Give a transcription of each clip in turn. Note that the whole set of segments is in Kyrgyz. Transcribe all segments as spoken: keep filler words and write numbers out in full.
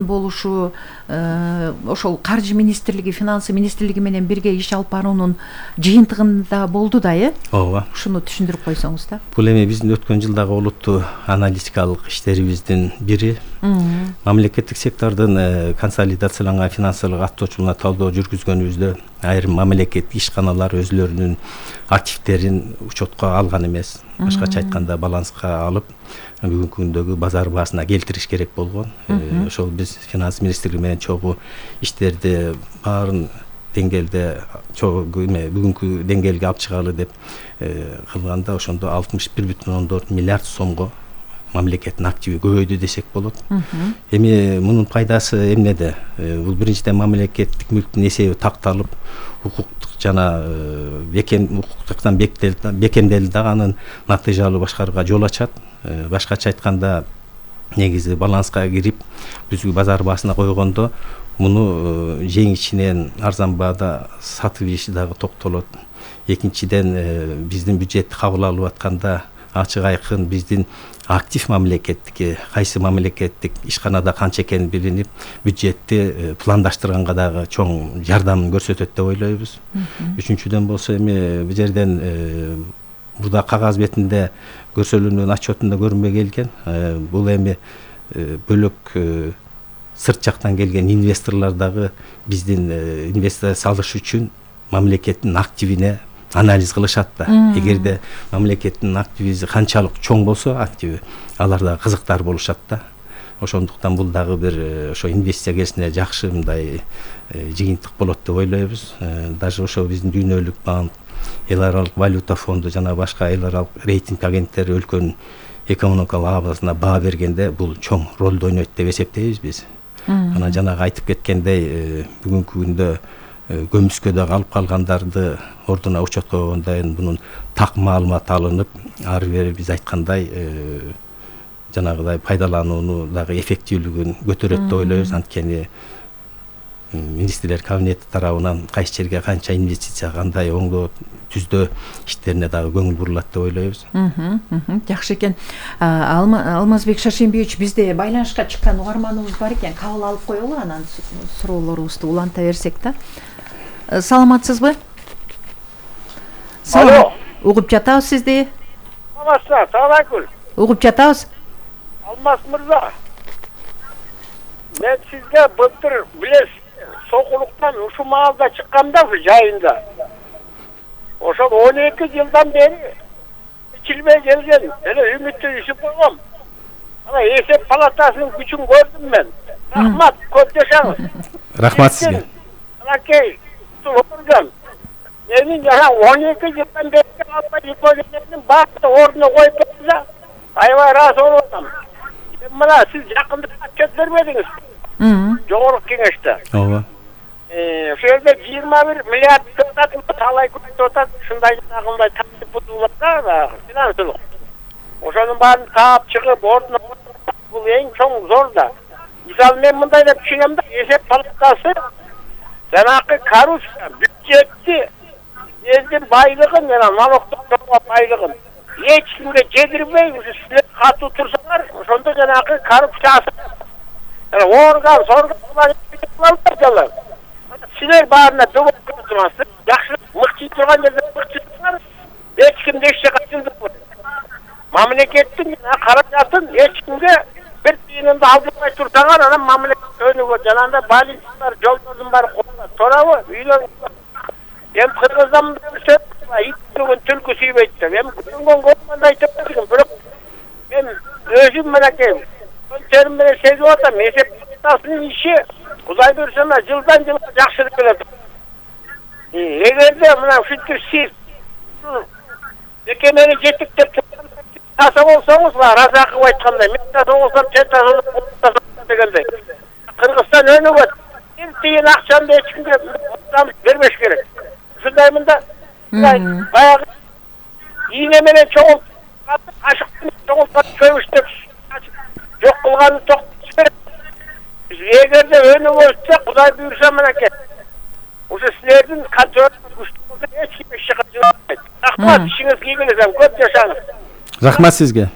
болушу ошол каржы министрлиги, финансы министрлиги менен бирге иш алып баруунун жыйынтыгында болду да, э? Ооба. Ушуну түшүндүрүп койсоңуз да. Бул эми биздин өткөн жылдагы олуттуу аналитикалык иштерибиздин бири. Мамлекеттик сектордун консолидацияланган финансылык аттоочулугуна талдоо жүргүзгөнүбүздө айрым мамлекеттик ишканалар өзлөрүнүн активдерин учетко алган эмес. Башкача айтканда баланска алып, бүгүнкү күндөгү базар баасына келтириш керек болгон. Ошол биз финанс министрлиги менен чогуу иштерди баарын деңгээлде чогуу эме бүгүнкү деңгээлге алып чыгалы деп кылганда ошондо алтымыш бир бүтүн ондон төрт миллиард сомго мамлекеттин активи көбөйдү десек болот. Эми мунун пайдасы эмнеде? Бул биринчиден мамлекеттик мүлктүн эсеби такталып, укуктук жана бекем укуктуктан бекемделди дагы анын натыйжалуу башкарууга жол ачат. Башкача айтканда негизи баланска кирип, бүзгү базар баасына койгондо муну жеңичинен арзан баада сатып иши дагы токтолот. Экинчиден биздин бюджетти кабыл алып атканда ачык айкын биздин актив мамлекеттики, кайсы мамлекеттик ишканада канча экени билинип, бюджетти пландаштырганга дагы чоң жардамын көрсөтөт деп ойлойбуз. Үчүнчүдөн болсо эми бул жерден мурда кагаз бетинде көрсөтүлгөн отчетунда көрүнбөй келген. Бул эми бөлөк сырт жактан келген инвесторлор дагы биздин инвестиция салыш үчүн мамлекеттин активине анализ кылышат да. Эгерде мамлекеттин активи канчалык чоң болсо, активи, алар да кызыктар болушат да. Ошондуктан бул дагы бир ошо инвестиция келишине жакшы мындай жыйынтык болот деп ойлойбуз. Даже ошо биздин дүйнөлүк банк, эл аралык валюта фонду жана башка эл аралык рейтинг агенттери өлкөнүн экономикалык абалына баа бергенде бул чоң ролду ойнойт деп эсептейбиз биз. Анан жанагы айтып кеткендей, бүгүнкү күндө көмүскөдө калып калгандарды ордуна учетко койгондон кийин бунун так маалымат алынып, ары бери биз айткандай жанагыдай пайдаланууну дагы эффективдүүлүгүн көтөрөт деп ойлойбуз. Анткени министрлер кабинети тарабынан кайсы жерге канча инвестиция, кандай оңдоо түздөө иштерине дагы көңүл бурулат деп ойлойбуз. Жакшы экен. Алмазбек Шашимбиевич, бизде байланышка чыккан угарманыбыз бар экен. Кабыл алып коелу, анан суроолорубузду уланта берсек да. Саламатсызбы? Алло. Угуп жатабыз сизди. Саламатсызбы? Саламатсызбы? Угуп жатабыз. Алмаз мырза. Мен сизге былтыр билесиз, сокулуктан ушу маалда чыкканда жайында. Ошол он эки жылдан бери ичилбей келген эле үмүттү ишип койгом. Ана эсеп палатасынын күчүн көрдүм мен. Рахмат, көп жашаңыз. Рахмат сизге. Анакей, турган. Менин жана он эки жылдан бери албай жүргөнүмдүн баардыгы ордуна коюп берсе, аябай ыраазы болуп атам. Мына сиз жакында отчет бербедиңиз. Жогорку кеңеште. Ооба. Ошол жерде жыйырма бир миллиард талай көтүп атат, ушундай жанагындай тартип бузулганда финансылык. Ошонун баарын таап чыгып, ордуна бул эң чоң зор да. Мисалы мен мындай деп түшүнөм да, эсеп палатасы жанагы коррупция, бюджетти, элдин байлыгын жана налогдук байлыгын эч кимге жедирбей, силер катуу турсаңар, ошондо жанагы коррупция орган, соргон кылалар. Силер баарына дөбөк турасыздар, жакшы мыкчый турган жерде мыкчысыңар, эч кимди эч жака жылдырбайт. Мамлекеттин каражатын эч кимге бир тыйынымды алдырбай турсаңар, анан мамлекет өнүгөт. Жанагындай больницалар, жолдордун баары коюлат. Туурабы? Үйлөр. Эми Кыргыздан ит бүгүн түлкү сүйбөйт деп. Эми көргөн көргөндө айтып бердим, бирок мен өзүм менен көлтерим менен сезип атам. Эсеп палатасынын иши Кудай буйрса жылдан жылга жакшырып келет. Эгерде мына ушинтип сиз бекемени жетиктеп таса болсоңуз, Разаков айткандай, мен таса болсом, сен таса дегендей. Кыргызстан өнүгөт. Бир тыйын акчамды эч кимге бербеш керек. Ушундай мында баягы ийне менен чоңултуп, кашык менен чоңултуп көбүштүп жок кылганын токтотуш керек. Эгерде өнүгөтсө, Кудай буйрса менеке. Ушу силердин контроль күчтүү эч ким эч жака жылбайт. Рахмат, ишиңиз ийгилесем, көп жашаңыз. Рахмат сизге.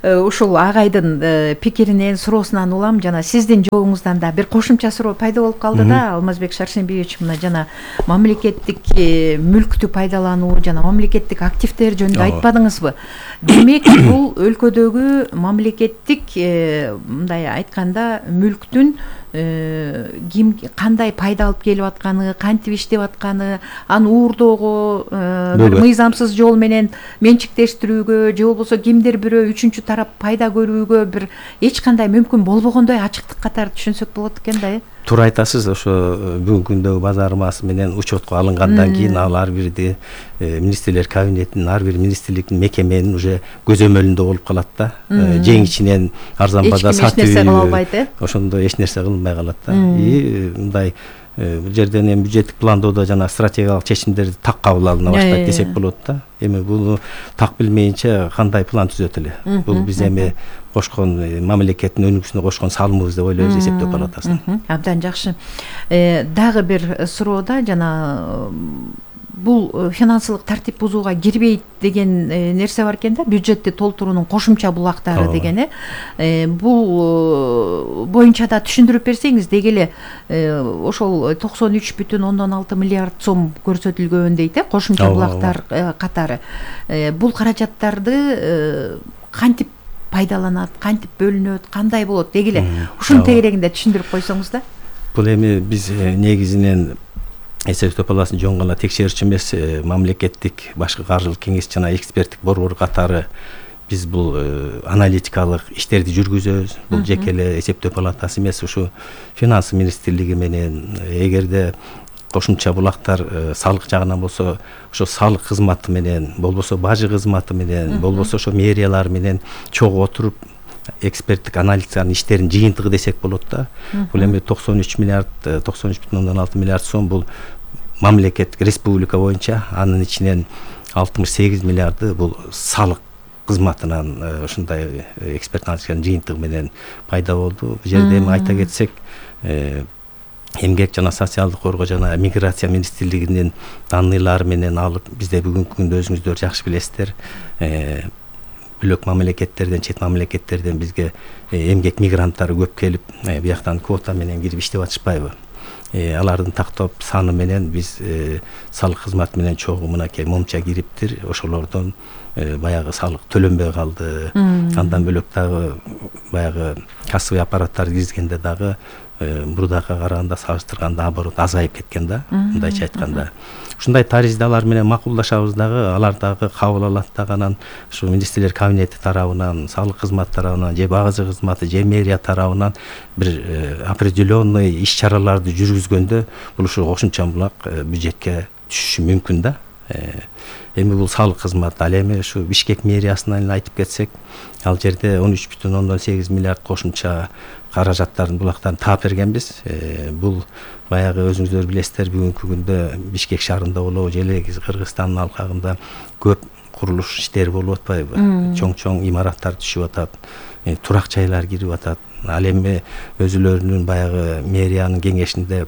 Ушул агайдын пикиринен, суроосунан улам жана сиздин жообуңуздан да бир кошумча суроо пайда болуп калды да, Алмазбек Шаршембиевич, мына жана мамлекеттик мүлктү пайдалануу жана мамлекеттик активдер жөнүндө айтпадыңызбы? Демек, бул өлкөдөгү мамлекеттик, мындай айтканда, мүлктүн ким кандай пайда алып келип атканы, кантип иштеп атканы, аны уурдоого, бир мыйзамсыз жол менен менчиктештирүүгө же болбосо кимдир бирөө үчүнчү тарап пайда көрүүгө бир эч кандай мүмкүн болбогондой ачыктык катары түшүнсөк болот экен да. Туура айтасыз, ошо бүгүнкү күндөгү базармасы менен учетко алынгандан кийин ал ар бирди министрлер кабинетинин, ар бир министрликтин, мекеменин уже көзөмөлүндө болуп калат да. Жең ичинен арзан баада сатып, ошондо эч нерсе кылынбай калат да. И мындай бул жерден эми бюджеттик пландоодо жана стратегиялык чечимдерди так кабыл алына баштайт десек болот да. Эми буну так билмейинче кандай план түзөт эле? Бул биз эми кошкон мамлекеттин өнүгүүсүнө кошкон салымыбыз деп ойлойбуз эсептөө палатасына. Абдан жакшы. Дагы бир суроода жана бул финансылык тартип бузууга кирбейт деген нерсе бар экен да, бюджетти толтуруунун кошумча булактары деген. Бул боюнча да түшүндүрүп берсеңиз, деги эле ошол токсон үч бүтүн ондон алты миллиард сом көрсөтүлгөн дейт, кошумча булактар катары. Бул каражаттарды кантип пайдаланат, кантип бөлүнөт, кандай болот, деги эле ушунун тегерегинде түшүндүрүп койсоңуз да. Бул эми биз негизинен эсептөө палатасынын жөн гана текшерүүчү эмес, мамлекеттик башкы каржылык кеңеш жана эксперттик борбор катары биз бул аналитикалык иштерди жүргүзөбүз. Бул жеке эле эсептөө палатасы эмес, ушу финанс министрлиги менен, эгерде кошумча булактар салык жагынан болсо, ошо салык кызматы менен, болбосо бажы кызматы менен, болбосо ошо мэриялар менен чогуу отуруп эксперттик аналитиканын иштеринин жыйынтыгы десек болот да. Бул эми токсон үч миллиард, токсон үч бүтүн ондон алты миллиард сом бул мамлекет республика боюнча, анын ичинен алтымыш сегиз миллиарды бул салык кызматынан ушундай эксперт аналитиканын жыйынтыгы менен пайда болду. Бул жерде эми айта кетсек, эмгек жана социалдык коргоо жана миграция министрлигинин данныйлары менен алып, бизде бүгүнкү күндө өзүңүздөр жакшы билесиздер, бөлөк мамлекеттерден, чет мамлекеттерден бизге эмгек мигранттары көп келип, бияктан квота менен кирип иштеп атышпайбы? Алардын тактоп саны менен биз салык кызматы менен чогуу мынакей момча кириптир, ошолордон баягы салык төлөнбөй калды. Андан бөлөк дагы баягы кассовый аппараттарды киргизгенде дагы мурдакыга караганда салыштырганда оборот азайып кеткен да, мындайча айтканда. Ушундай таризде алар менен макулдашабыз дагы, алар дагы кабыл алат дагы, анан ушу министрлер кабинети тарабынан, салык кызматы тарабынан, же багажы кызматы, же мэрия тарабынан бир определенный иш-чараларды жүргүзгөндө бул ушу кошумча булак бюджетке түшүшү мүмкүн да. Эми бул салык кызматы, ал эми ушу Бишкек мэриясынан айтып кетсек, ал жерде он үч бүтүн ондон сегиз миллиард кошумча каражаттардын булактарын таап бергенбиз. Бул баягы өзүңүздөр билесиздер, бүгүнкү күндө Бишкек шаарында болобу, же эле Кыргызстандын алкагында көп курулуш иштери болуп атпайбы? Чоң-чоң имараттар түшүп атат, турак жайлар кирип атат. Ал эми өзүлөрүнүн баягы мэриянын кеңешинде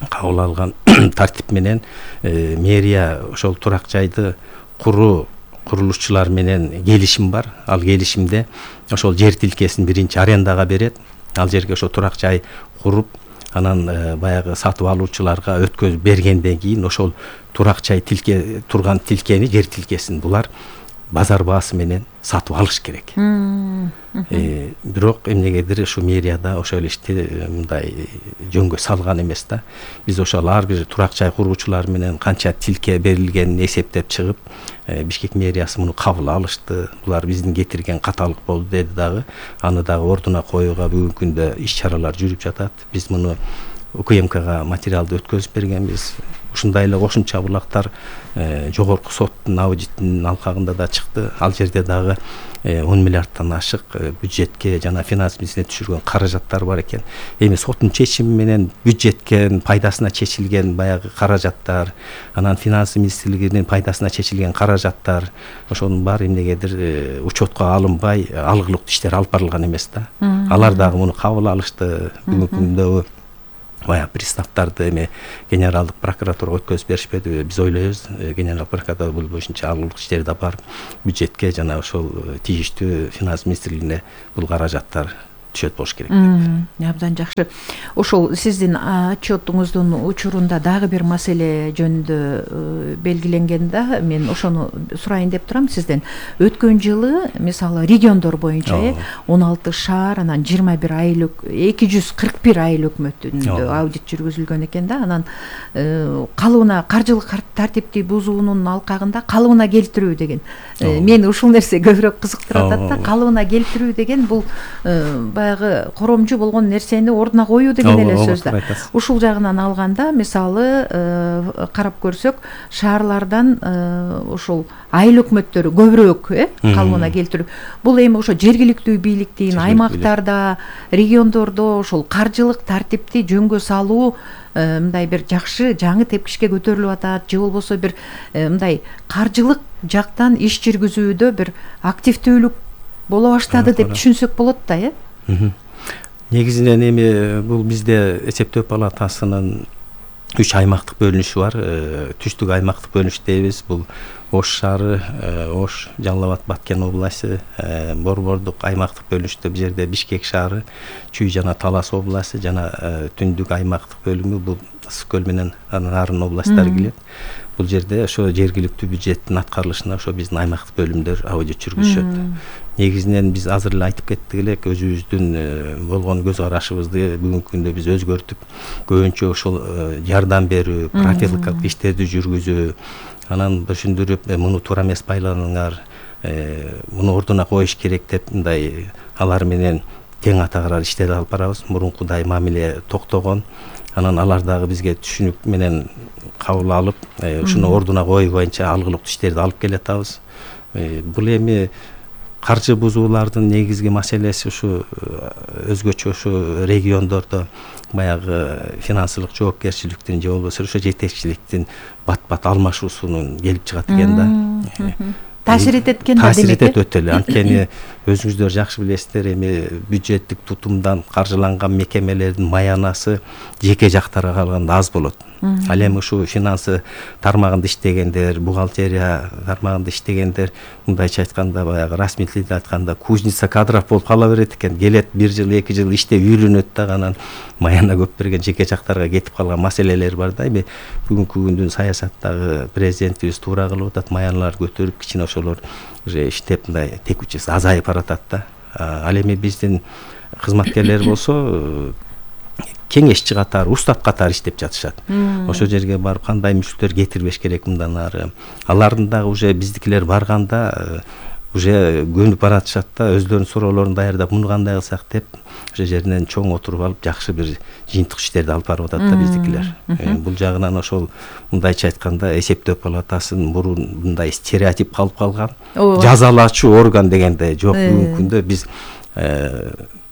кабыл алган тартип менен мэрия ошол турак жайды куруу курулушчулар менен келишим бар. Ал келишимде ошол жер тилкесин биринчи арендага берет. Ал жерге ошо турак жай куруп, анан баягы сатып алуучуларга өткөзүп бергенден кийин ошол турак жай тилке турган тилкени, жер тилкесин булар базар баасы менен сатып алыш керек. Бирок эмнегедир ушу мэрияда ошол ишти мындай жөнгө салган эмес да. Биз ошол ар бир турак жай куруучулар менен канча тилке берилгенин эсептеп чыгып, Бишкек мэриясы муну кабыл алышты. Булар биздин кетирген каталык болду деди дагы. Аны дагы ордуна коюуга бүгүнкү күндө иш-чаралар жүрүп жатат. Биз муну УКМКга материалды өткөзүп бергенбиз. Ушундай эле кошумча булактар жогорку соттун аудитинин алкагында да чыкты. Ал жерде дагы он миллиардтан ашык бюджетке жана финанс министрлигине түшүргөн каражаттар бар экен. Эми соттун чечими менен бюджетке пайдасына чечилген баягы каражаттар, анан финанс министрлигинин пайдасына чечилген каражаттар, ошонун баары эмнегедир учетко алынбай, алгылыктуу иштер алып барылган эмес да. Алар дагы муну кабыл алышты. Бүгүнкү күндө баягы приставдарды эме генералдык прокуратурага өткөзүп беришпедиби? Биз ойлойбуз, генералдык прокуратура бул боюнча алгылык иштерди алып барып, бюджетке жана ошол тийиштүү финанс министрлигине бул каражаттар түшөт болуш керек деп. Абдан жакшы. Ошол сиздин отчетуңуздун учурунда дагы бир маселе жөнүндө белгиленген да, мен ошону сурайын деп турам сизден. Өткөн жылы мисалы региондор боюнча он алты шаар, анан жыйырма бир айыл, эки жүз кырк бир айыл өкмөтүндө аудит жүргүзүлгөн экен да. Анан калыбына каржылык тартипти бузуунун алкагында калыбына келтирүү деген. Мени ушул нерсе көбүрөөк кызыктырып атат да. Калыбына келтирүү деген бул баягы коромжу болгон нерсени ордуна коюу деген эле сөз да. Ушул жагынан алганда, мисалы карап көрсөк, шаарлардан ошол айыл өкмөттөрү көбүрөөк э калыбына келтирүү. Бул эми ошо жергиликтүү бийликтин аймактарда, региондордо ошол каржылык тартипти жөнгө салуу мындай бир жакшы жаңы тепкичке көтөрүлүп атат, же болбосо бир мындай каржылык жактан иш жүргүзүүдө бир активдүүлүк боло баштады деп түшүнсөк болот да, э? Негизинен эми бул бизде эсептөө палатасынын үч аймактык бөлүнүшү бар. Түштүк аймактык бөлүнүш дейбиз. Бул Ош шаары, Ош, Жалал Абад, Баткен областы, Борбордук аймактык бөлүнүштө бул жерде Бишкек шаары, Чүй жана Талас областы жана Түндүк аймактык бөлүмү бул Ысык көл менен Нарын областтары келет. Бул жерде ошо жергиликтүү бюджеттин аткарылышына ошо биздин аймактык бөлүмдөр аудит жүргүзүшөт. Негизинен биз азыр эле айтып кеттик элек, өзүбүздүн болгон көз карашыбызды бүгүнкү күндө биз өзгөртүп, көбүнчө ошол жардам берүү, профилактикалык иштерди жүргүзүү, анан түшүндүрүп, муну туура эмес байланыңар, муну ордуна коюш керек деп мындай алар менен тең атагар иштерди алып барабыз. Мурункудай мамиле токтогон. Анан алар дагы бизге түшүнүк менен кабыл алып, ушуну ордуна коюу боюнча алгылыктуу иштерди алып келатабыз. Бул эми каржы бузуулардын негизги маселеси ушу өзгөчө ушу региондордо баягы финансылык жоопкерчиликтин же болбосо ошо жетекчиликтин бат-бат алмашуусунун келип чыгат экен да. Таасир этет экен да, демек. Таасир этет өтө эле. Анткени өзүңүздөр жакшы билесиздер, эми бюджеттик тутумдан каржыланган мекемелердин маянасы жеке жактарга калганда аз болот. Ал эми ушу финансы тармагында иштегендер, бухгалтерия тармагында иштегендер, мындайча айтканда баягы расмий тилде айтканда кузница кадров болуп кала берет экен. Келет бир жыл, эки жыл иштеп үйрөнөт да, анан маяна көп берген жеке жактарга кетип калган маселелер бар да. Эми бүгүнкү күндүн саясаттагы президентибиз туура кылып атат, маяналар көтөрүп, кичине ошолор уже иштеп мындай текучеси азайып баратат да. Ал эми биздин кызматкерлер болсо кеңешчи катары, устат катары иштеп жатышат. Ошол жерге барып кандай мүчтөр кетирбеш керек мындан ары. Алардын дагы уже биздикилер барганда уже көнүп баратышат да, өздөрүнүн суроолорун даярдап, муну кандай кылсак деп, ошол жеринен чоң отуруп алып, жакшы бир жыйынтык иштерди алып барып атат да биздикилер. Бул жагынан ошол мындайча айтканда эсептөө палатасынын мурун мындай стереотип калып калган. Жазалаачу орган дегенде жок. Бүгүнкү күндө биз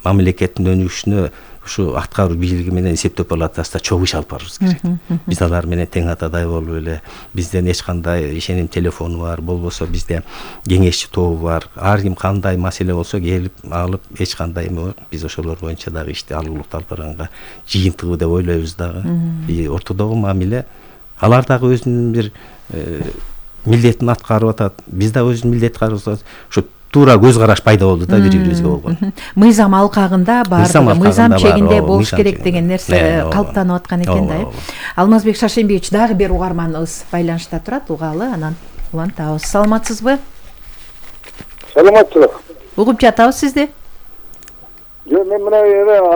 мамлекеттин өнүгүшүнө ушу аткаруу бийлиги менен эсептөө палатасында чогуу иш алып барыбыз керек. Биз алар менен тең атадай болуп эле, бизден эч кандай ишеним телефону бар, болбосо бизде кеңешчи тобу бар. Ар ким кандай маселе болсо келип алып, эч кандай биз ошолор боюнча дагы ишти алгылыктуу алып барганга жыйынтыгы деп ойлойбуз дагы. И ортодогу мамиле алар дагы өзүнүн бир милдетин аткарып атат. Биз да өзүбүздүн милдетти аткарып атабыз. Ошо туура көз караш пайда болду да бири-бирибизге болгон. Мыйзам алкагында бар, мыйзам чегинде болуш керек деген нерсе калыптанып аткан экен да. Алмазбек Шаршембиевич, дагы бир угарманыбыз байланышта турат, угалы, анан улантабыз. Саламатсызбы? Саламатчылык. Угуп жатабыз сизди. Жок, мен мына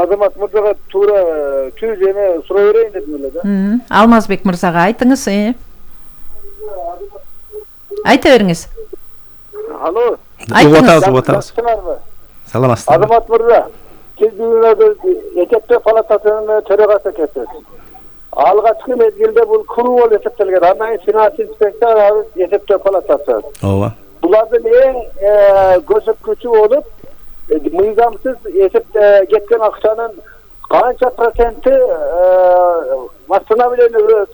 Азамат мырзага туура түз эме сурай берейин дедим эле да. Алмазбек мырзага айтыңыз. Айта бериңиз. Алло. Угатабыз, угатабыз. Саламатсызбы? Азамат мырза, сиз бүгүн эсептөө палатасынын төрагасы экенсиз. Алгачкы мезгилде бул клуб болуп эсептелген. Андан кийин финанс инспекция, эсептөө палатасы. Ооба. Булардын эң көрсөткүчү болуп, мыйзамсыз эсеп кеткен акчанын канча проценти восстановление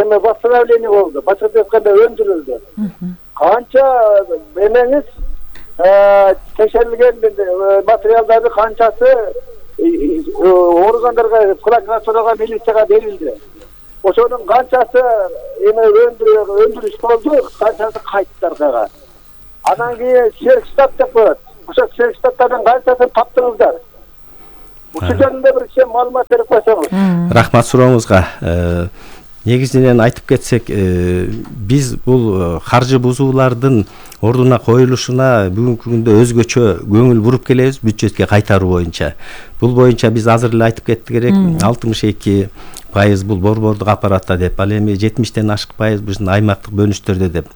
эме восстановление болду, башкача айтканда өндүрүлдү. Канча эмеңиз текшерилген материалдарды канчасы органдарга, прокуратурага, милицияга берилди. Ошонун канчасы эме өндүрүш болду, канчасы кайтты аркага. Анан кийин серктат деп коет. Ошо серктаттардын канчасын таптыңыздар? Ушул жөнүндө бир кичине маалымат берип койсоңуз. Рахмат сурооңузга. Негизинен айтып кетсек, биз бул каржы бузуулардын ордуна коюлушуна бүгүнкү күндө өзгөчө көңүл буруп келебиз бюджетке кайтаруу боюнча. Бул боюнча биз азыр эле айтып кеттик керек, алтымыш эки пайыз бул борбордук аппаратта деп, ал эми жетимиштен ашык пайыз биздин аймактык бөлүнүштөрдө деп.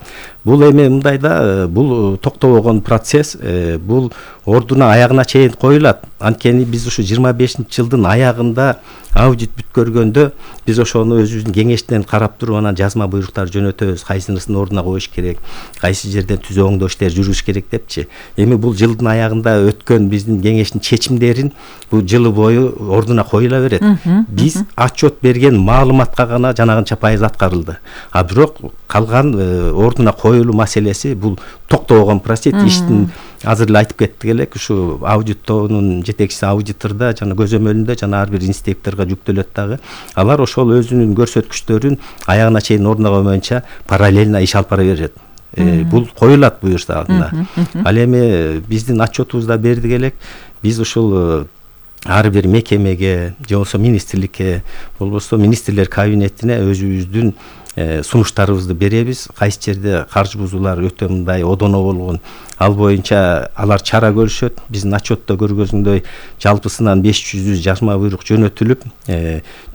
Бул эми мындайда бул токтобогон процесс, бул ордуна аягына чейин коюлат. Анткени биз ушу жыйырма бешинчи жылдын аягында аудит бүткөргөндө биз ошону өзүбүздүн кеңештен карап туруп анан жазма буйруктар жөнөтөбүз, кайсынысын ордуна коюш керек, кайсы жерден түзөө оңдоо иштери жүрүш керек депчи. Эми бул жылдын аягында өткөн биздин кеңештин чечимдерин бул жылы бою ордуна коюла берет. Биз отчет берген маалыматка гана жанагынча пайыз аткарылды. А бирок калган ордуна коюлуу маселеси бул токтобогон процесс. Иштин азыр эле айтып кеттик элек, ушу аудитордун жетекчиси аудиторда жана көзөмөлүндө жана ар бир инспекторго жүктөлөт дагы. Алар ошол өзүнүн көрсөткүчтөрүн аягына чейин ордуна койгонча параллельно иш алып бара берет. Бул коюлат буюрса алдына. Ал эми биздин отчетубузда бердик элек, биз ушул ар бир мекемеге же болбосо министрликке, болбосо министрлер кабинетине өзүбүздүн сунуштарыбызды беребиз. Кайсы жерде каржы бузуулар өтө мындай одоно болгон, ал боюнча алар чара көрүшөт. Биздин отчетто көргөзгөндөй жалпысынан беш жүз жазма буйрук жөнөтүлүп,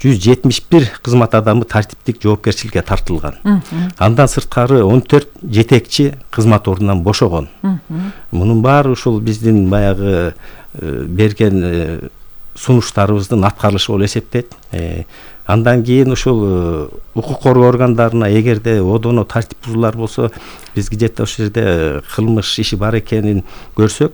жүз жетимиш бир кызмат адамы тартиптик жоопкерчиликке тартылган. Андан сырткары он төрт жетекчи кызмат ордунан бошогон. Мунун баары ушул биздин баягы берген сунуштарыбыздын аткарылышы болуп эсептейт. Андан кийин ушул укук коргоо органдарына эгерде одоно тартип бузуулар болсо, биз где то ошол жерде кылмыш иши бар экенин көрсөк,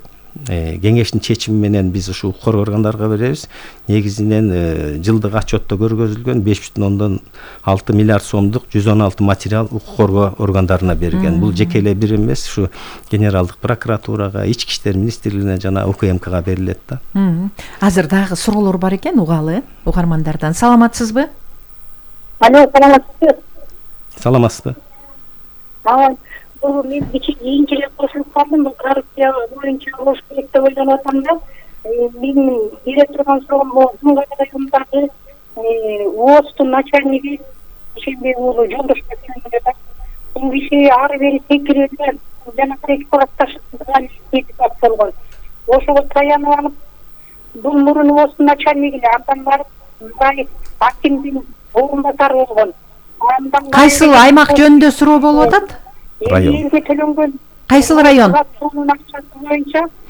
кеңештин чечими менен биз ушу укук коргоо органдарга беребиз. Негизинен жылдык отчетто көргөзүлгөн беш бүтүн ондон алты миллиард сомдук жүз он алты материал укук коргоо органдарына берилген. Бул жеке эле бир эмес, ушу генералдык прокуратурага, ички иштер министрлигине жана УКМКга берилет да. Азыр дагы суроолор бар экен, угалы угармандардан. Саламатсызбы? Алло, саламатсызбы? Саламатсызбы? Бул мен кийинчерээк кошулуп калдым, бул коррупция боюнча болуш керек деп ойлонуп атам да. Менин бере турган суроом бул Жумгал районундагы ООСтун начальниги Ишенбек уулу Жолдош да. Бул киши ары бери секирүүдө жанагы эксплуатацияга депутат болгон. Ошого таянып алып, бул мурун ООСтун начальниги эле, андан барып акимдин орунбасары болгон. Кайсыл аймак жөнүндө суроо болуп атат? Район. Кайсыл район?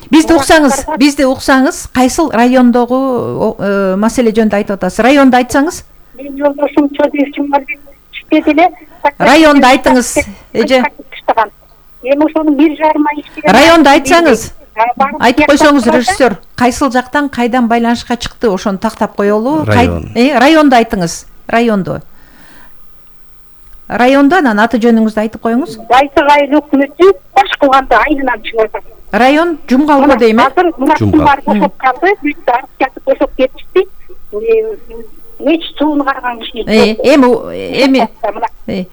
Бизди уксаңыз, бизди уксаңыз, кайсыл райондогу маселе жөнүндө айтып атасыз? Районду айтсаңыз? Мен жолдошум Чодиев Жумалбек иштеди эле. Районду айтыңыз, эже. Эми ошонун бир жарым ай иштеген. Районду айтсаңыз. Айтып койсоңуз, режиссер, кайсыл жактан кайдан байланышка чыкты, ошону тактап коелу. Район. Районду айтыңыз. Районду. Районду анан аты жөнүңүздү айтып коюңуз. Байсак айыл өкмөтү баш кылганды айылынан чыгып атат. Район Жумгалбы дейм э? Жумгал бошоп калды, бүт аркасы бошоп кетишти. Эч суун карган киши. Эми эми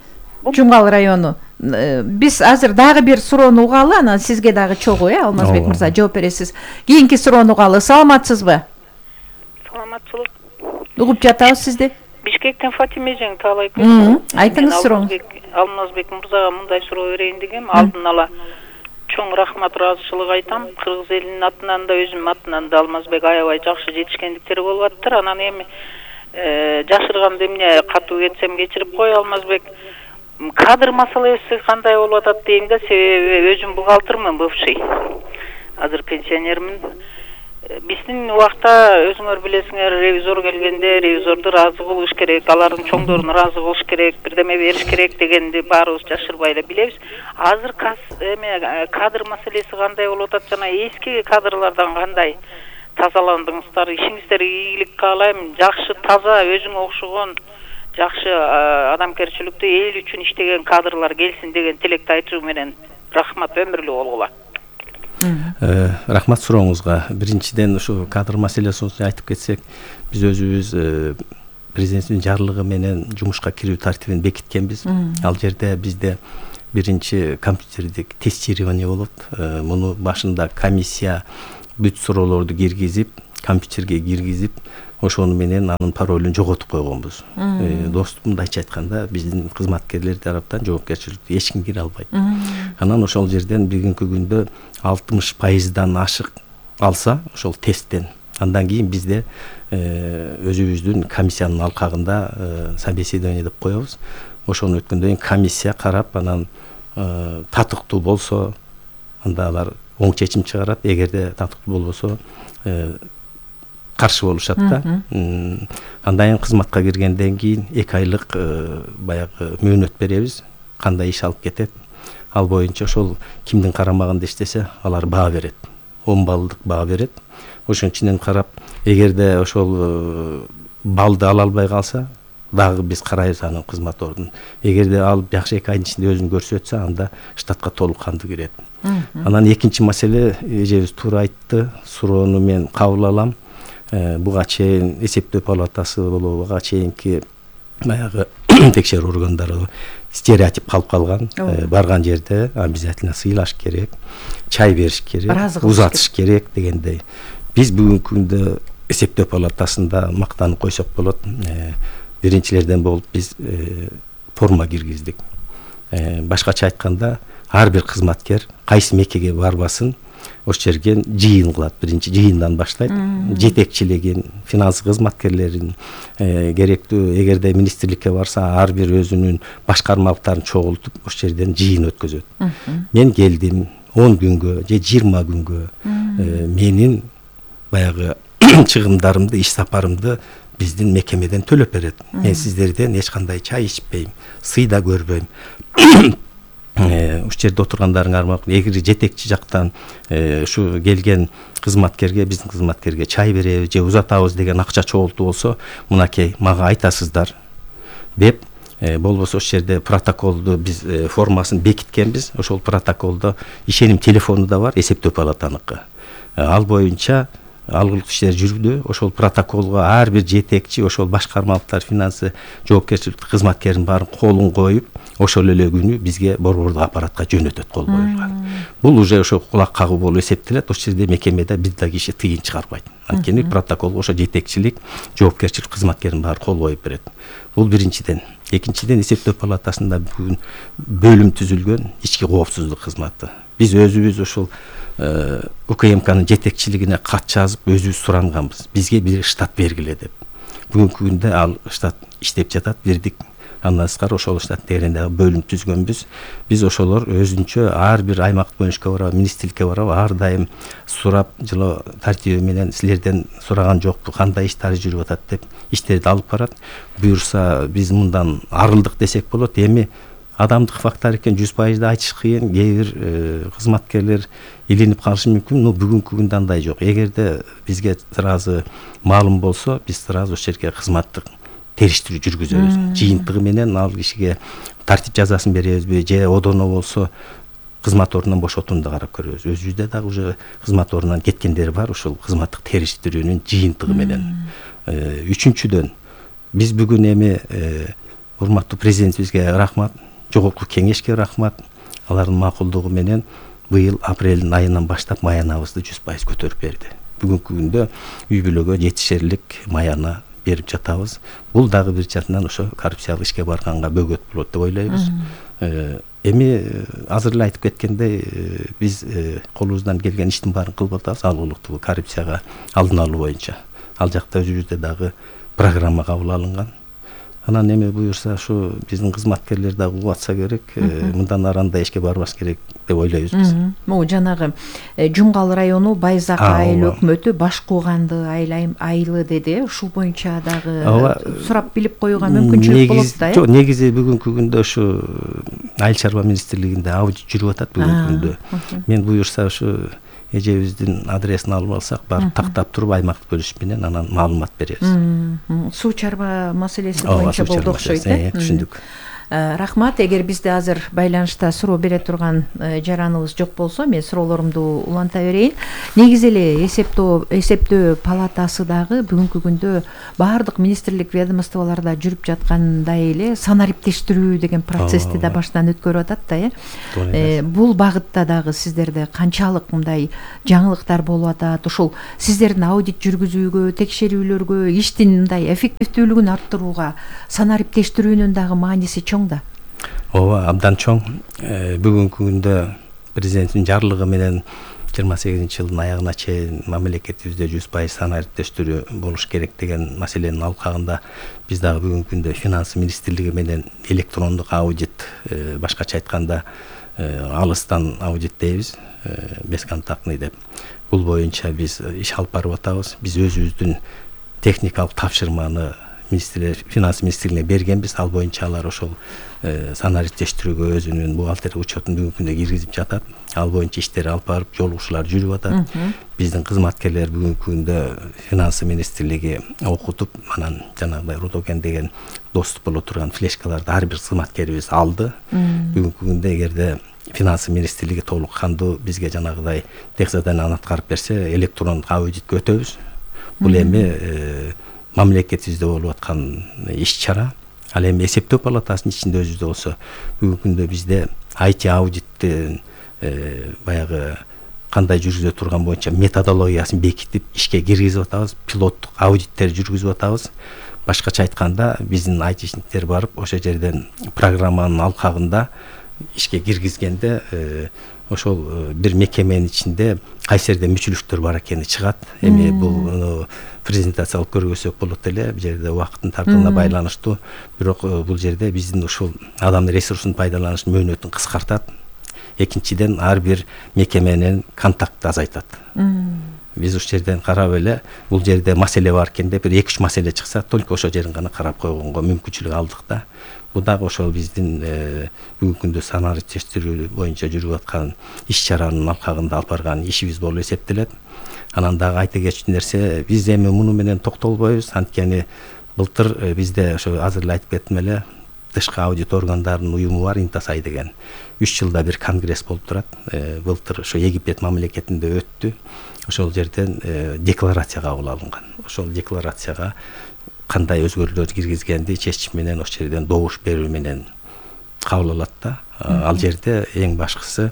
Жумгал району. Биз азыр дагы бир суроону угалы, анан сизге дагы чогуу, э, Алмазбек мырза, жооп бересиз. Кийинки суроону угалы. Саламатсызбы? Саламатчылык. Угуп жатабыз сизди. Бишкектен Фатиме Жең Таалай көз. Айтыңыз сурооңузду. Алмазбек мырзага мындай суроо берейин дегем. Алдын ала чоң рахмат, ыраазычылык айтам. Кыргыз элинин атынан да, өзүмдүн атынан да Алмазбек аябай жакшы жетишкендиктери болуп аттыр. Анан эми жашырганда эмне катуу кетсем кечирип кой, Алмазбек. Кадр маселеси кандай болуп атат дейм да, себеби өзүм бухгалтермын, бывший. Азыр пенсионермин. Биздин убакта өзүңөр билесиңер, ревизор келгенде ревизорду ыраазы кылыш керек, алардын чоңдорун ыраазы кылыш керек, бирдеме бериш керек дегенди баарыбыз жашырбай эле билебиз. Азыр эме кадр маселеси кандай болуп атат, жана эски кадрлардан кандай тазаландыңыздар, ишиңиздерге ийгилик каалайм. Жакшы, таза, өзүңө окшогон жакшы адамгерчиликтүү эл үчүн иштеген кадрлар келсин деген тилекти айтуу менен рахмат, өмүрлүү болгула. Рахмат сурооңузга. Биринчиден ушу кадр маселесин айтып кетсек, биз өзүбүз президенттин жарлыгы менен жумушка кирүү тартибин бекиткенбиз. Ал жерде бизде биринчи компьютердик тестирование болот. Муну башында комиссия бүт суроолорду киргизип, компьютерге киргизип, ошону менен анын паролун жоготуп койгонбуз. Доступ мындайча айтканда, биздин кызматкерлер тараптан жоопкерчиликке эч ким кире албайт. Анан ошол жерден бүгүнкү күндө алтымыш пайыздан ашык алса, ошол тесттен, андан кийин бизде өзүбүздүн комиссиянын алкагында собеседование деп коебуз. Ошону өткөндөн кийин комиссия карап, анан татыктуу болсо, анда алар оң чечим чыгарат. Эгерде татыктуу болбосо, каршы болушат да. Андан кийин кызматка киргенден кийин эки айлык баягы мөөнөт беребиз. Кандай иш алып кетет, ал боюнча ошол кимдин карамагында иштесе, алар баа берет. он баллдык баа берет. Ошонун ичинен карап, эгерде ошол балды ала албай калса, дагы биз карайбыз анын кызмат ордун. Эгерде ал жакшы эки айдын ичинде өзүн көрсөтсө, анда штатка толук кандуу кирет. Анан экинчи маселе, эжебиз туура айтты, суроону мен кабыл алам. Буга чейин эсептөө палатасы болобу, буга чейинки баягы текшерүү органдары стереотип калып калган. Барган жерде обязательно сыйлаш керек, чай бериш керек, узатыш керек дегендей. Биз бүгүнкү күндө эсептөө палатасында мактанып койсок болот. Биринчилерден болуп биз форма киргиздик. Башкача айтканда, ар бир кызматкер кайсы мекеге барбасын, ошол жерге жыйын кылат. Биринчи жыйындан баштайт. Жетекчилигин, финанс кызматкерлерин, керектүү эгерде министрликке барса, ар бир өзүнүн башкармалыктарын чогултуп, ошол жерден жыйын өткөзөт. Мен келдим он күнгө же жыйырма күнгө менин баягы чыгымдарымды, иш сапарымды биздин мекемеден төлөп берет. Мен сиздерден эч кандай чай ичпейм, сый да көрбөйм. Ушул жерде отургандарыңар макул. Эгер жетекчи жактан ушу келген кызматкерге, биздин кызматкерге чай беребиз же узатабыз деген акча чогултуу болсо, мынакей мага айтасыздар деп, болбосо ошол жерде протоколду биз формасын бекиткенбиз. Ошол протоколдо ишеним телефону да бар, эсептөө палатаныкы. Ал боюнча алгылык иштер жүрдү. Ошол протоколго ар бир жетекчи, ошол башкармалыктар, финансы жоопкерчиликтүү кызматкердин баарын колун коюп, ошол эле күнү бизге борбордук аппаратка жөнөтөт, кол коюлган. Бул уже ошо кулак кагуу болуп эсептелет. Ошол жерде мекемеде бир да киши тыйын чыгарбайт. Анткени протоколго ошо жетекчилик, жоопкерчилик кызматкердин баары кол коюп берет. Бул биринчиден. Экинчиден, эсептөө палатасында бүгүн бөлүм түзүлгөн, ички коопсуздук кызматы. Биз өзүбүз ошол УКМКнын жетекчилигине кат жазып, өзүбүз суранганбыз. Бизге бир штат бергиле деп. Бүгүнкү күндө ал штат иштеп жатат, бирдик. Андан тышкары ошол штат дегенде бөлүм түзгөнбүз. Биз ошолор өзүнчө ар бир аймак бөлүнүшкө барабы, министрликке барабы, ар дайым сурап, жылы тартиби менен силерден сураган жокпу, кандай иштер жүрүп атат деп иштерди алып барат. Буюрса биз мындан арылдык десек болот. Эми адамдык фактор экен, жүз пайыз айтыш кыйын. Кээ бир кызматкерлер илинип калышы мүмкүн, но бүгүнкү күндө андай жок. Эгерде бизге сразу маалым болсо, биз сразу ошол жерге кызматтык териштирүү жүргүзөбүз. Жыйынтыгы менен ал кишиге тартип жазасын беребизби, же одоно болсо кызмат ордунан бошотууну да карап көрөбүз. Өзүбүздө дагы уже кызмат ордунан кеткендер бар, ошол кызматтык териштирүүнүн жыйынтыгы менен. Үчүнчүдөн, биз бүгүн эми урматтуу президентибизге рахмат, жогорку кеңешке рахмат. Алардын макулдугу менен быйыл апрелдин айынан баштап маянабызды жүз пайыз көтөрүп берди. Бүгүнкү күндө үй бүлөгө жетишерлик маяна берип жатабыз. Бул дагы бир жактан ошо коррупциялык ишке барганга бөгөт болот деп ойлойбуз. Эми азыр эле айтып кеткендей, биз колубуздан келген иштин баарын кылып атабыз, алгылыктуу коррупцияга алдын алуу боюнча. Ал жакта өзүбүздө дагы программа кабыл алынган. Анан эми буюрса ушу биздин кызматкерлер дагы угуп атса керек, мындан ары андай ишке барбаш керек деп ойлойбуз биз. Могу жанагы Жумгал району Байзак айыл өкмөтү баш кууганды айылы деди. Ушул боюнча дагы сурап билип коюуга мүмкүнчүлүк болот да. Жок, негизи бүгүнкү күндө ушу Айыл чарба министрлигинде аудит жүрүп атат бүгүнкү күндө. Мен буюрса ушу эжебиздин адресин алып алсак, барып тактап туруп аймактык бөлүш менен анан маалымат беребиз. Суу чарба маселеси боюнча болду окшойт, э? Түшүндүк. Рахмат. Эгер бизде азыр байланышта суроо бере турган жараныбыз жок болсо, мен суроолорумду уланта берейин. Негизи эле эсептөө эсептөө палатасы дагы бүгүнкү күндө баардык министрлик ведомстволордо жүрүп жаткандай эле санариптештирүү деген процессти да баштан өткөрүп атат да, э. Бул багытта дагы сиздерде канчалык мындай жаңылыктар болуп атат? Ушул сиздердин аудит жүргүзүүгө, текшерүүлөргө, иштин мындай эффективдүүлүгүн арттырууга санариптештирүүнүн дагы мааниси чоң да. Ооба, абдан чоң. Бүгүнкү күндө президенттин жарлыгы менен жыйырма сегизинчи жылдын аягына чейин мамлекетибизде жүз пайыз санариптештирүү болуш керек деген маселенин алкагында биз дагы бүгүнкү күндө финанс министрлиги менен электрондук аудит, башкача айтканда алыстан аудит дейбиз, бесконтактный деп. Бул боюнча биз иш алып барып атабыз. Биз өзүбүздүн техникалык тапшырманы финанс министрлигине бергенбиз. Ал боюнча алар ошол санариптештирүүгө өзүнүн бухгалтер учетун бүгүнкү күндө киргизип жатат. Ал боюнча иштер алып барып, жолугушуулар жүрүп атат. Биздин кызматкерлер бүгүнкү күндө финанс министрлиги окутуп, анан жанагындай Рудоген деген доступ боло турган флешкаларды ар бир кызматкерибиз алды. Бүгүнкү күндө эгерде финанс министрлиги толук кандуу бизге жанагыдай тех заданияларды аткарып берсе, электрондук аудитке өтөбүз. Бул эми мамлекетибизде болуп аткан иш-чара. Ал эми эсептөө палатасынын ичинде өзүбүздө болсо, бүгүнкү күндө бизде ай ти аудиттин баягы кандай жүргүзө турган боюнча методологиясын бекитип ишке киргизип атабыз, пилоттук аудиттер жүргүзүп атабыз. Башкача айтканда, биздин айтишниктер барып, ошол жерден программанын алкагында ишке киргизгенде ошол бир мекеменин ичинде кайсы жерде мүчүлүктөр бар экени чыгат. Эми бул презентация алып көргөзсөк болот эле, бул жерде убакыттын тартууна байланыштуу. Бирок бул жерде биздин ушул адам ресурсун пайдаланыш мөөнөтүн кыскартат. Экинчиден, ар бир мекеменин контактты азайтат. Биз ушул жерден карап эле, бул жерде маселе бар экен деп, бир эки үч маселе чыкса, только ошол жерин гана карап койгонго мүмкүнчүлүк алдык да. Бул дагы ошол биздин бүгүнкү күндө санариптештирүү боюнча жүрүп аткан иш-чаранын алкагында алып барган ишибиз болуп эсептелет. Анан дагы айта кетчү нерсе, биз эми муну менен токтолбойбуз. Анткени былтыр бизде ошо азыр эле айтып кеттим эле, тышкы аудит органдарынын уюму бар, Интасай деген. үч жылда бир конгресс болуп турат. Былтыр ошо Египет мамлекетинде өттү. Ошол жерден декларация кабыл алынган. Ошол декларацияга кандай өзгөрүүлөр киргизгенди чечим менен ошол жерден добуш берүү менен кабыл алат да. Ал жерде эң башкысы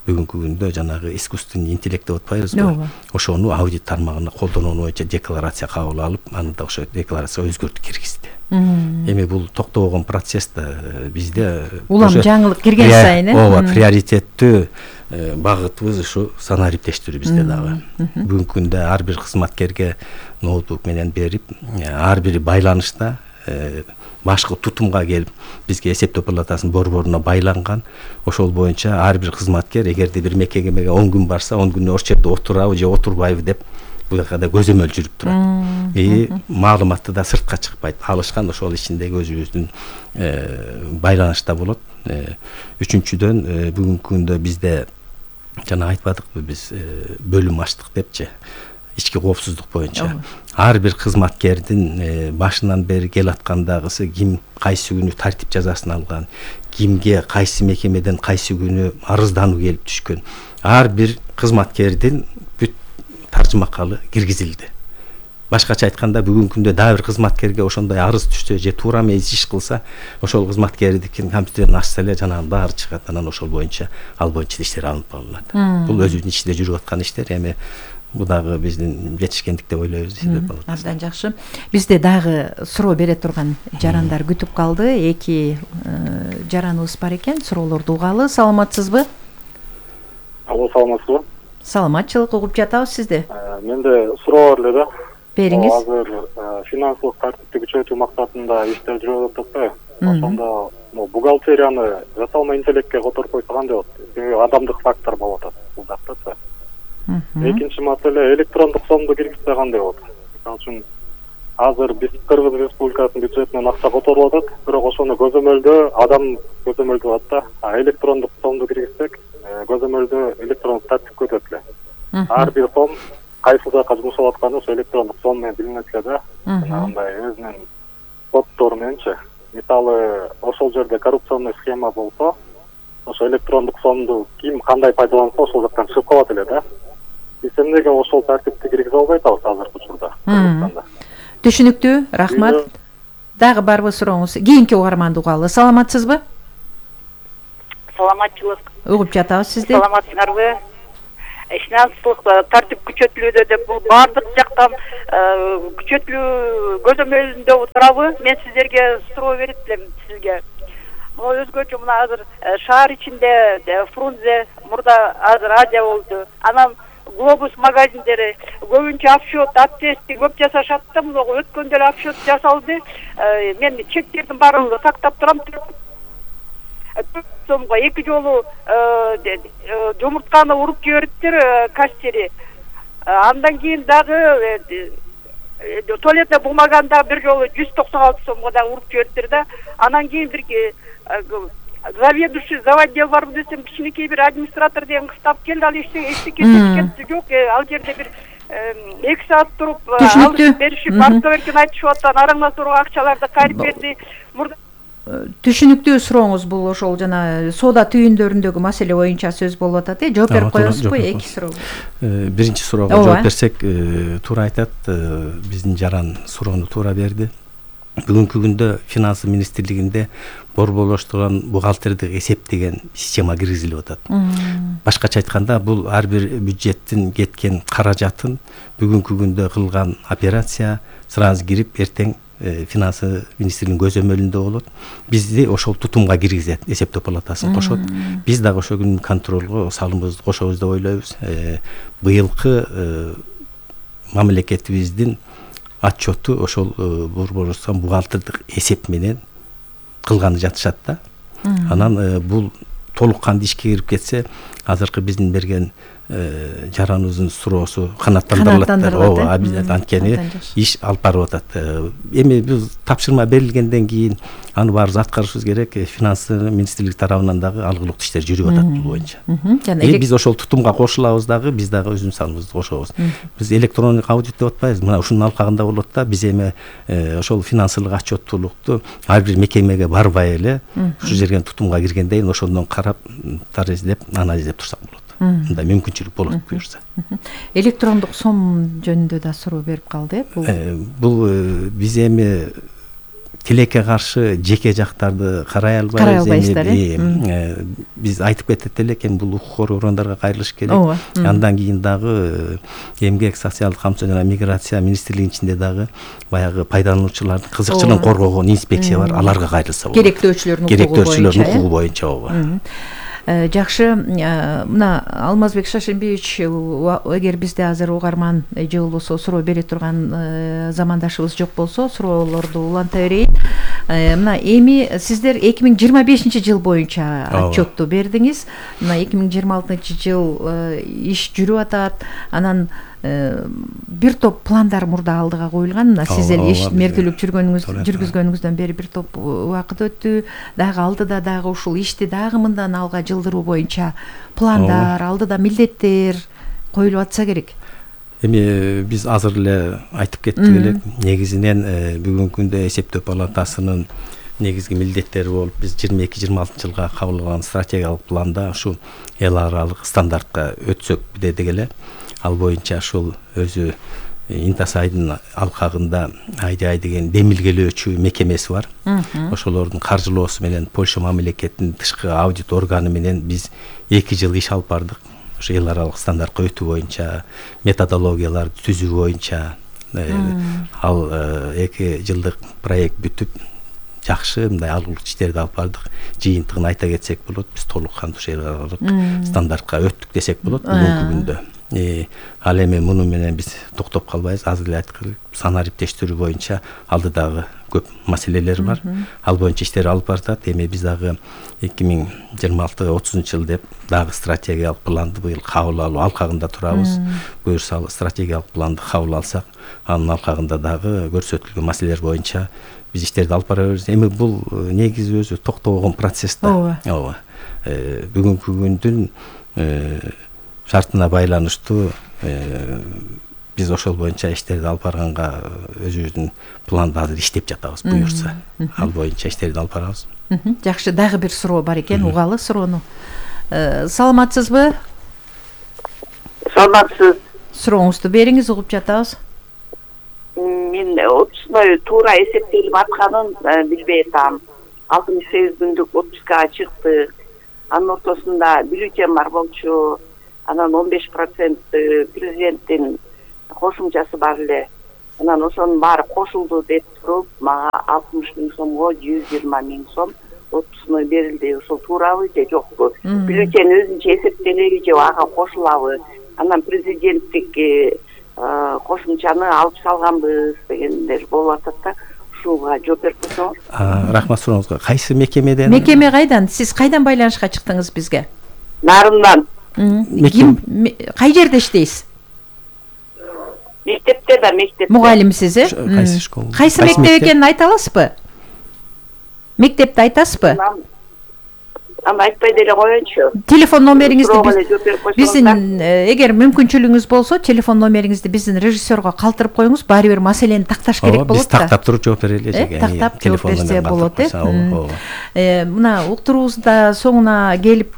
бүгүнкү күндө жанагы искусственный интеллект деп атпайбызбы? Ошону аудит тармагына колдонуу боюнча декларация кабыл алып, аны да ошо декларация өзгөртүп киргизди. Эми бул токтобогон процесс да бизде улам жаңылык кирген сайын, э? Ооба, приоритеттүү багытыбыз ушу санариптештирүү бизде дагы. Бүгүнкү күндө ар бир кызматкерге ноутбук менен берип, ар бири байланышта башкы тутумга келип, бизге эсептөө палатасынын борборуна байланган. Ошол боюнча ар бир кызматкер эгерде бир мекемеге он күн барса, он күн ошол жерде отурабы же отурбайбы деп бул жакта көзөмөл жүрүп турат. И маалыматты да сыртка чыкпайт. Алышкан ошол ичиндеги өзүбүздүн байланышта болот. Үчүнчүдөн, бүгүнкү күндө бизде жана айтпадыкпы биз бөлүм ачтык депчи, ички коопсуздук боюнча. Ар бир кызматкердин башынан бери келаткандагысы ким кайсы күнү тартип жазасын алган, кимге кайсы мекемеден кайсы күнү арыздануу келип түшкөн. Ар бир кызматкердин бүт таржымакалы киргизилди. Башкача айтканда, бүгүнкү күндө дагы бир кызматкерге ошондой арыз түшсө же туура эмес иш кылса, ошол кызматкердикин компьютерин ачса эле жанагы баары чыгат. Анан ошол боюнча ал боюнча иштер алынып алынат. Бул өзүнүн ичинде жүрүп аткан иштер. Эми бул дагы биздин жетишкендик деп ойлойбуз. Абдан жакшы. Бизде дагы суроо бере турган жарандар күтүп калды. Эки жараныбыз бар экен. Суроолорду угалы. Саламатсызбы? Алло, саламатсызбы? Саламатчылык угуп жатабыз сизди. Менде суроо бар эле да. Бериңиз. Азыр финансылык тартипти күчөтүү максатында иштер жүрүп атат да. Ошондо бухгалтерияны жасалма интеллектке которуп койсо кандай болот? Себеби адамдык фактор болуп атат бул жакта. Экинчи маселе, электрондук сомду киргизсе кандай болот? Мисалы үчүн азыр биз Кыргыз Республикасынын бюджетинен акча которулуп атат, бирок ошону көзөмөлдөө адам көзөмөлдүп атат да. А электрондук сомду киргизсек, көзөмөлдөө электрондук тартипке өтөт эле. Ар бир сом кайсы жака жумшалып атканы ошо электрондук сом менен билинет эле да. Мындай өзүнүн коддору мененчи. мисалы ошол жерде коррупционный схема болсо, ошо электрондук сомду ким кандай пайдаланса ошол жактан чыгып калат эле да. Биз эмнеге ошол тартипти киргизе албай атабыз азыркы учурда Кыргызстанда? Түшүнүктүү, рахмат. Дагы барбы сурооңуз? Кийинки угарманды угалы. Саламатсызбы? Саламатчылык. Угуп жатабыз сизди. Саламатсыңарбы? Финанстык тартип күчөтүлүүдө деп бул баардык жактан күчөтүлүү көзөмөлүндө турабы? Мен сиздерге суроо берип элем сизге. Өзгөчө мына азыр шаар ичинде Фрунзе мурда азыр Азия болду. Анан Глобус магазиндери көбүнчө офшот, аптести көп жасашат да, мына өткөндө эле офшот жасалды. Мен чектердин баарын сактап турам. Сомго эки жолу жумуртканы уруп жибериптир кассери. Андан кийин дагы туалетный бумаганда бир жолу жүз токсон алты сомго дагы уруп жибериптир да. Анан кийин бир заведующий заводдел барбы десем, кичинекей бир администратор деген кыз таап келди, ал эчтеке кетти жок, ал жерде бир эки саат туруп алып беришип, артка беркен айтышып атат, араңда турган акчаларды кайрып берди. Мурда түшүнүктүү сурооңуз бул ошол жана соода түйүндөрүндөгү маселе боюнча сөз болуп атат э. Жооп берип коесузбу эки суроого? Биринчи суроого жооп берсек, туура айтат, биздин жаран суроону туура берди. Бүгүнкү күндө Финансы министрлигинде борборлоштурган бухгалтердик эсеп деген система киргизилип атат. Башкача айтканда, бул ар бир бюджеттин кеткен каражатын бүгүнкү күндө кылган операция сразу кирип, эртең Финансы министрлигинин көзөмөлүндө болот. Бизди ошол тутумга киргизет, эсептөө палатасын кошот. Биз дагы ошол күнү контролго салымыбызды кошобуз деп ойлойбуз. Быйылкы мамлекетибиздин отчету ошол борборлоштурган бухгалтердик эсеп менен кылганы жатышат да. Анан бул толук кандуу ишке кирип кетсе, азыркы биздин берген жараныбыздын суроосу канааттандырылат. Ооба, анткени иш алып барып атат. Эми биз тапшырма берилгенден кийин аны баарыбыз аткарышыбыз керек. Финансы министрлиги тарабынан дагы алгылыктуу иштер жүрүп атат бул боюнча. Эми биз ошол тутумга кошулабыз дагы, биз дагы өзүбүздүн салымыбызды кошобуз. Биз электрондук аудит деп атпайбыз. Мына ушунун алкагында болот да, биз эми ошол финансылык отчеттуулукту ар бир мекемеге барбай эле ушу жерге тутумга киргенден ошондон карап, тараздеп, анализдеп турсак болот. Мындай мүмкүнчүлүк болот буюрса. Электрондук сом жөнүндө да суроо берип калды э. Бул биз эми тилекке каршы жеке жактарды карай албайбыз. Биз айтып кетет элек, эми бул укук коргоо органдарга кайрылыш керек. Андан кийин дагы эмгек, социалдык камсыз жана миграция министрлигинин ичинде дагы баягы пайдалануучулардын кызыкчылыгын коргогон инспекция бар, аларга кайрылса болот. Керектөөчүлөрдүн укугу боюнча ооба. Жакшы, мына Алмазбек Шашимбиевич, эгер бизде азыр угарман же болбосо суроо бере турган замандашыбыз жок болсо, суроолорду уланта берейин. Мына эми сиздер эки миң жыйырма бешинчи жыл боюнча отчетту бердиңиз. Мына эки миң жыйырма алтынчы жыл иш жүрүп атат. Анан бир топ пландар мурда алдыга коюлган. Мына сиз эле иш меркелеп жүргөнүңүз, жүргүзгөнүңүздөн бери бир топ убакыт өттү. Дагы алдыда дагы ушул ишти дагы мындан алга жылдыруу боюнча пландар, алдыда милдеттер коюлуп атса керек. Эми биз азыр эле айтып кеттик элек, негизинен бүгүнкү күндө эсептөө палатасынын негизги милдеттери болуп, биз жыйырма эки жыйырма алтынчы жылга кабыл алган стратегиялык планда ушу эл аралык стандартка өтсөк дедик эле. Ал боюнча ушул өзү Интасайдын алкагында Айдай деген демилгелөөчү мекемеси бар. Ошолордун каржылоосу менен Польша мамлекетинин тышкы аудит органы менен биз эки жыл иш алып бардык. Ошо эл аралык стандартка өтүү боюнча, методологияларды түзүү боюнча. Ал эки жылдык проект бүтүп, жакшы мындай алгылыктуу иштерди алып бардык. Жыйынтыгын айта кетсек болот, биз толук кандуу эл аралык стандартка өттүк десек болот бүгүнкү күндө. Ал эми муну менен биз токтоп калбайбыз. Азыр эле айткылы, санаа иптештиги боюнча алдыдагы көп маселелер бар. Ал боюнча иштер алып баратат. Эми биз дагы эки миң жыйырма алты отузунчу жыл деп дагы стратегиялык планды быйыл кабыл алуу алкагында турабыз. Буюрса стратегиялык планды кабыл алсак, анын алкагында дагы көрсөтүлгөн маселелер боюнча биз иштерди алып бара беребиз. Эми бул негизи өзү токтобогон процесс да. Ооба. Бүгүнкү күндүн шартына байланыштуу биз ошол боюнча иштерди алып барганга өзүбүздүн планды азыр иштеп жатабыз. Буюрса ал боюнча иштерди алып барабыз. Жакшы, дагы бир суроо бар экен, угалы суроону. Саламатсызбы? Саламатсыз. Сурооңузду бериңиз, угуп жатабыз. Мен отпускной туура эсептелип атканын билбей атам. алтымыш сегиз күндүк отпускага чыкты. Анын ортосунда бюллетень бар болчу. Анан он беш процент президенттин кошумчасы бар эле. Анан ошонун баары кошулду деп туруп, мага алтымыш миң сомго жүз жыйырма миң сом отпускной берилди. Ошол туурабы же жокпу? Бюллетень өзүнчө эсептелеби же ага кошулабы? Анан президенттик кошумчаны алып салганбыз дегендер болуп атат да. Ушуга жооп берип койсоңуз. Рахмат сурооңузга. Кайсы мекемеден? Мекеме кайдан? Сиз кайдан байланышка чыктыңыз бизге? Нарындан. Ким, кай жерде иштейсиз? Мектепте да, мектепте. Мугалимсиз, э? Кайсы школа? Кайсы мектеп экенин айта аласызбы? Мектепти айтасызбы? Аны айтпай деле коеюнчу. Телефон номериңизди биздин, эгер мүмкүнчүлүгүңүз болсо, телефон номериңизди биздин режиссерго калтырып коюңуз, баары бир маселени такташ керек болот да. Биз тактап туруп жооп берели же. Тактап жооп берсе болот, э. Мына уктуруубузда соңуна келип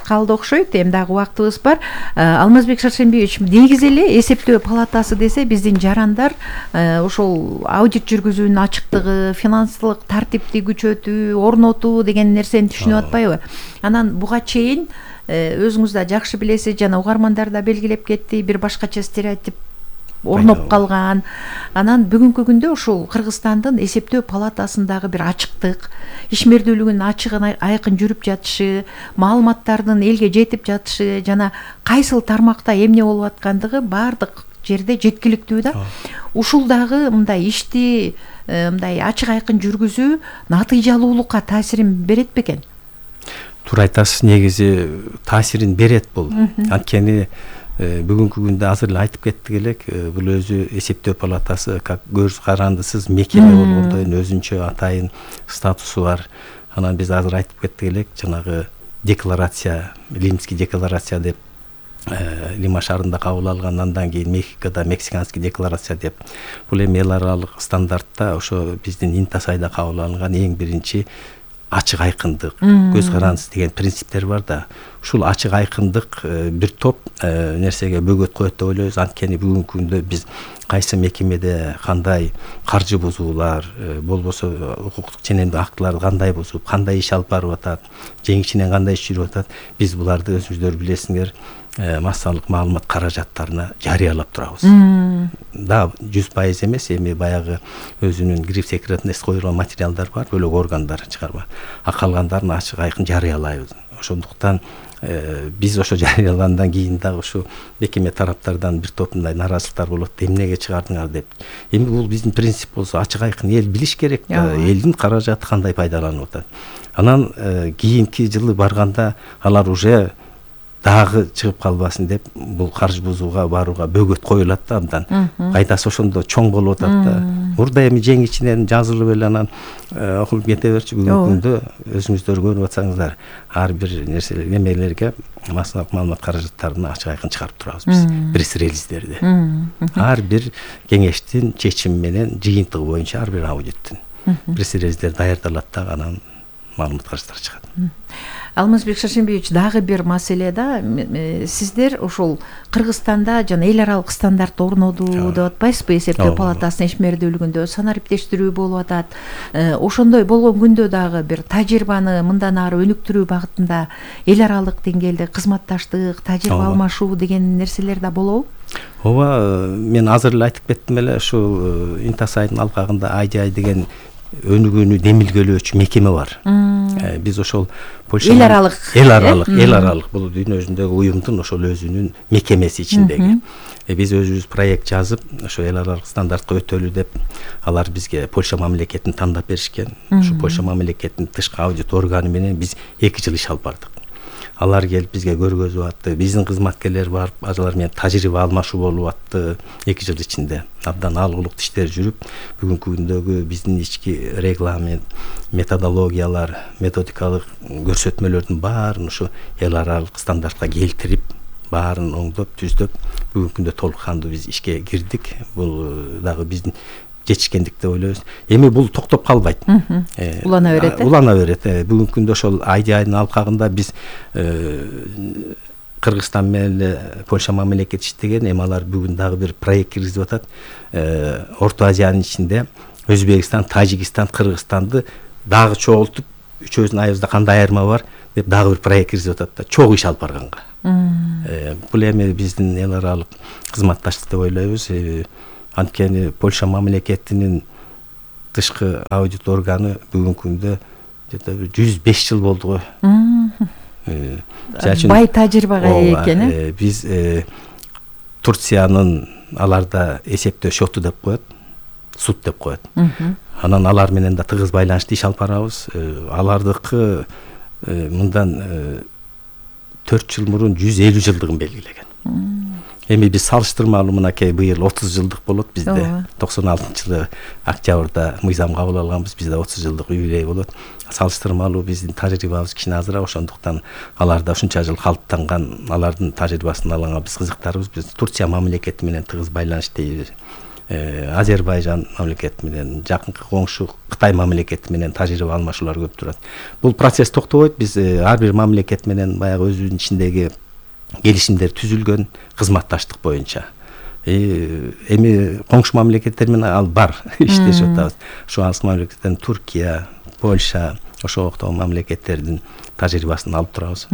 калды окшойт. Эми дагы убактыбыз бар. Алмазбек Шаршембиевич, негизи эле эсептөө палатасы десе биздин жарандар ошол аудит жүргүзүүнүн ачыктыгы, финансылык тартипти күчөтүү, орнотуу деген нерсени түшүнүп атпайбы? Анан буга чейин өзүңүз да жакшы билесиз, жана угармандар да белгилеп кетти, бир башкача стереотип орноп калган. Анан бүгүнкү күндө ушул Кыргызстандын эсептөө палатасындагы бир ачыктык, ишмердүүлүгүнүн ачык айкын жүрүп жатышы, маалыматтардын элге жетип жатышы, жана кайсыл тармакта эмне болуп аткандыгы баардык жерде жеткиликтүү да. Ушул дагы мындай ишти мындай ачык айкын жүргүзүү натыйжалуулукка таасирин берет бекен? Туура айтасыз, негизи таасирин берет бул. Анткени бүгүнкү күндө азыр эле айтып кеттик элек, бул өзү эсептөө палатасы как көз карандысыз мекеме болгондой өзүнчө атайын статусу бар. Анан биз азыр айтып кеттик элек, жанагы декларация, Лимский декларация деп Лима шаарында кабыл алган, андан кийин Мехикода Мексиканский декларация деп. Бул эми эл аралык стандартта ошо биздин Интасайда кабыл алынган эң биринчи ачык айкындык, көз карандысыз деген принциптер бар да. Ушул ачык айкындык бир топ нерсеге бөгөт коет деп ойлойбуз. Анткени бүгүнкү күндө биз кайсы мекемеде кандай каржы бузуулар, болбосо укуктук ченемдик актыларды кандай бузуп, кандай иш алып барып атат, жеңишинен кандай иш жүрүп атат, биз буларды өзүңүздөр билесиңер, массалык маалымат каражаттарына жарыялап турабыз. Да, жүз пайыз эмес, эми баягы өзүнүн гриф секретность коюлган материалдар бар, бөлөк органдар чыгарма. А калгандарын ачык айкын жарыялайбыз. Ошондуктан биз ошо жарыялагандан кийин дагы ушу мекеме тараптардан бир топ мындай наразылыктар болот, эмнеге чыгардыңар деп. Эми бул биздин принцип болсо, ачык айкын эл билиш керек да, элдин каражаты кандай пайдаланып атат. Анан кийинки жылы барганда алар уже дагы чыгып калбасын деп бул каржы бузууга барууга бөгөт коюлат да абдан. Кайдасы ошондо чоң болуп атат да. Мурда эми жең ичинен жазылып эле анан окулуп кете берчү. Бүгүнкү күндө өзүңүздөр көрүп атсаңыздар, ар бир нерсе эмелерге массалык маалымат каражаттарына ачык айкын чыгарып турабыз биз. Пресс-релиздерди. Ар бир кеңештин чечими менен жыйынтыгы боюнча ар бир аудиттин пресс-релиздер даярдалат да, анан маалымат каражаттары чыгат. Алмазбек Шаршембиевич, дагы бир маселе да, сиздер ошол Кыргызстанда жана эл аралык стандарт орнотуу деп атпайсызбы? Эсептөө палатасынын ишмердүүлүгүндө санариптештирүү болуп атат. Ошондой болгон күндө дагы бир тажрыйбаны мындан ары өнүктүрүү багытында эл аралык деңгээлде кызматташтык, тажрыйба алмашуу деген нерселер да болобу? Ооба, мен азыр эле айтып кеттим эле, ушул Интасайдын алкагында ай ди ай деген өнүгүүнү демилгелөөчү мекеме бар. Биз ошол Польша эл аралык эл аралык эл аралык бул дүйнө жүзүндөгү уюмдун ошол өзүнүн мекемеси ичиндеги. Биз өзүбүз проект жазып, ошо эл аралык стандартка өтөлү деп, алар бизге Польша мамлекетин тандап беришкен. Ушу Польша мамлекетинин тышкы аудит органы менен биз эки жыл иш алып бардык. Алар келип бизге көргөзүп атты. Биздин кызматкерлер барып, алар менен тажрыйба алмашуу болуп атты эки жыл ичинде. Абдан алгылыктуу иштер жүрүп, бүгүнкү күндөгү биздин ички регламент, методологиялар, методикалык көрсөтмөлөрдүн баарын ушу эл аралык стандартка келтирип, баарын оңдоп түздөп бүгүнкү күндө толук кандуу биз ишке кирдик. Бул дагы биздин жетишкендик деп ойлойбуз. Эми бул токтоп калбайт. Улана берет. Улана берет. Бүгүнкү күндө ошол Айдиайдын алкагында биз Кыргызстан менен эле Польша мамлекети иштеген, эми алар бүгүн дагы бир проект киргизип атат. Орто Азиянын ичинде Өзбекстан, Тажикстан, Кыргызстанды дагы чогултуп, үчөөбүздүн айыбызда кандай айырма бар деп дагы бир проект киргизип атат да, чогуу иш алып барганга. Бул эми биздин эл аралык кызматташтык деп ойлойбуз. Анткени Польша мамлекетинин тышкы аудит органы бүгүнкү күндө жүз беш жыл болду го. Бай тажрыйбага ээ экен, э? Биз Турциянын аларда эсептөө шоту деп коет, суд деп коет. Анан алар менен да тыгыз байланышты иш алып барабыз. Алардыкы мындан төрт жыл мурун жүз элүү жылдыгын белгилеген. Эми биз салыштырмалуу мынакей быйыл отуз жылдык болот бизде. токсон алтынчы жылы октябрда мыйзам кабыл алганбыз, бизде отуз жылдык юбилей болот. Салыштырмалуу биздин тажрыйбабыз кичине азыраак, ошондуктан аларда ушунча жыл калыптанган алардын тажрыйбасын алганга биз кызыктарбыз. Биз Турция мамлекети менен тыгыз байланыштайбыз. Азербайжан мамлекети менен, жакынкы коңшу Кытай мамлекети менен тажрыйба алмашуулар көп турат. Бул процесс токтобойт. Биз ар бир мамлекет менен баягы өзүнүн ичиндеги келишимдер түзүлгөн кызматташтык боюнча. Эми коңшу мамлекеттер менен ал бар иштешип атабыз. Ошо алыс мамлекеттерден Туркия, Польша, ошо октогу мамлекеттердин тажрыйбасын алып турабыз.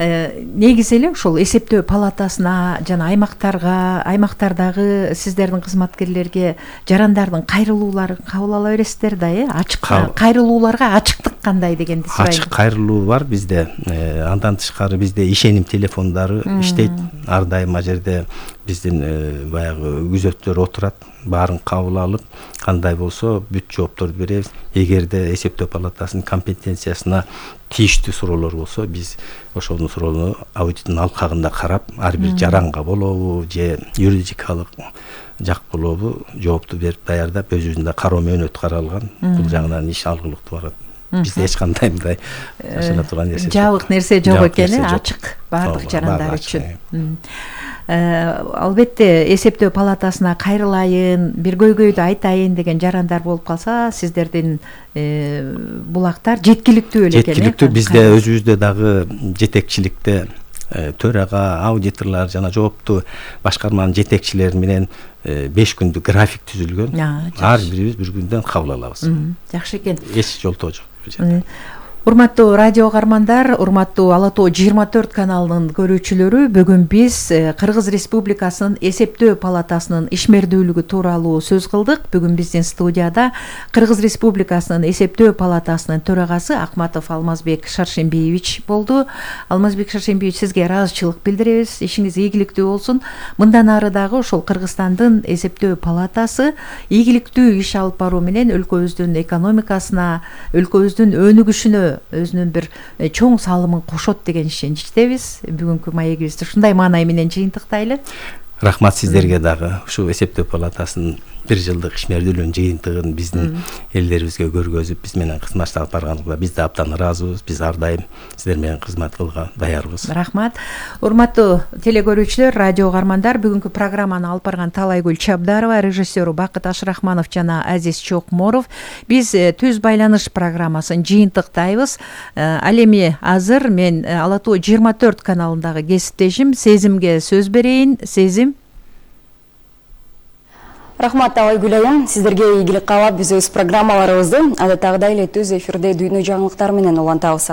Негизи эле ошол эсептөө палатасына жана аймактарга, аймактардагы сиздердин кызматкерлерге жарандардын кайрылууларын кабыл ала бересиздер да, э? Ачык кайрылууларга ачыктык кандай дегенди сурайм. Ачык кайрылуу бар бизде. Андан тышкары бизде ишеним телефондору иштейт. Ар дайым ал жерде биздин баягы күзөттөр отурат, баарын кабыл алып, кандай болсо бүт жоопторду беребиз. Эгерде эсептөө палатасынын компетенциясына тийиштүү суроолор болсо, биз ошонун суроону аудиттин алкагында карап, ар бир жаранга болобу же юридикалык жак болобу жоопту берип даярдап, өзүбүздүн кароо мөөнөтү каралган. Бул жагынан иш алгылыктуу барат. Бизде эч кандай мындай ашына турган нерсе жабык нерсе жок экен, ачык баардык жарандар үчүн. Албетте эсептөө палатасына кайрылайын, бир көйгөйдү айтайын деген жарандар болуп калса, сиздердин булактар жеткиликтүү эле экен. Жеткиликтүү. Бизде өзүбүздө дагы жетекчиликте төрага, аудиторлор жана жооптуу башкарманын жетекчилери менен беш күндүк график түзүлгөн. Ар бирибиз bir күндөн кабыл алабыз. Жакшы экен. Эч жолтоо жок. Урматтуу радио каармандар, урматтуу Ала Тоо жыйырма төрт каналынын көрүүчүлөрү, бүгүн биз Кыргыз Республикасынын эсептөө палатасынын ишмердүүлүгү тууралуу сөз кылдык. Бүгүн биздин студияда Кыргыз Республикасынын эсептөө палатасынын төрагасы Акматов Алмазбек Шаршембиевич болду. Алмазбек Шаршембиевич, сизге ыраазычылык билдиребиз. Ишиңиз ийгиликтүү болсун. Мындан ары дагы ошол Кыргызстандын эсептөө палатасы ийгиликтүү иш алып баруу менен өлкөбүздүн экономикасына, өлкөбүздүн өнүгүшүнө өзүнүн бир чоң салымын кошот деген ишеничтебиз. Бүгүнкү маегибизди ушундай маанай менен жыйынтыктайлы. Рахмат сиздерге дагы. Ушу эсептөө палатасынын бир жылдык ишмердүүлүгүнүн жыйынтыгын биздин элдерибизге көргөзүп, биз менен кызматташып алып барганыңызга биз да абдан ыраазыбыз. Биз ар дайым сиздер менен кызмат кылууга даярбыз. Рахмат. Урматтуу телекөрүүчүлөр, радио каармандар, бүгүнкү программаны алып барган Талайгүл Чабдарова, режиссеру Бакыт Ашрахманов жана Азиз Чокморов. Биз түз байланыш программасын жыйынтыктайбыз. Ал эми азыр мен Ала Тоо жыйырма төрт каналындагы кесиптешим Сезимге сөз берейин. Сезим. Рахмат Талайгүл айым, сиздерге ийгилик каалап, биз өз программаларыбызды адаттагыдай эле түз эфирде дүйнө жаңылыктары менен улантабыз.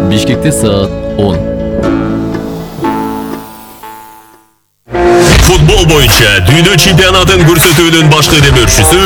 Бишкекте саат он. Футбол боюнча дүйнө чемпионатын көрсөтүүнүн башкы демөөрчүсү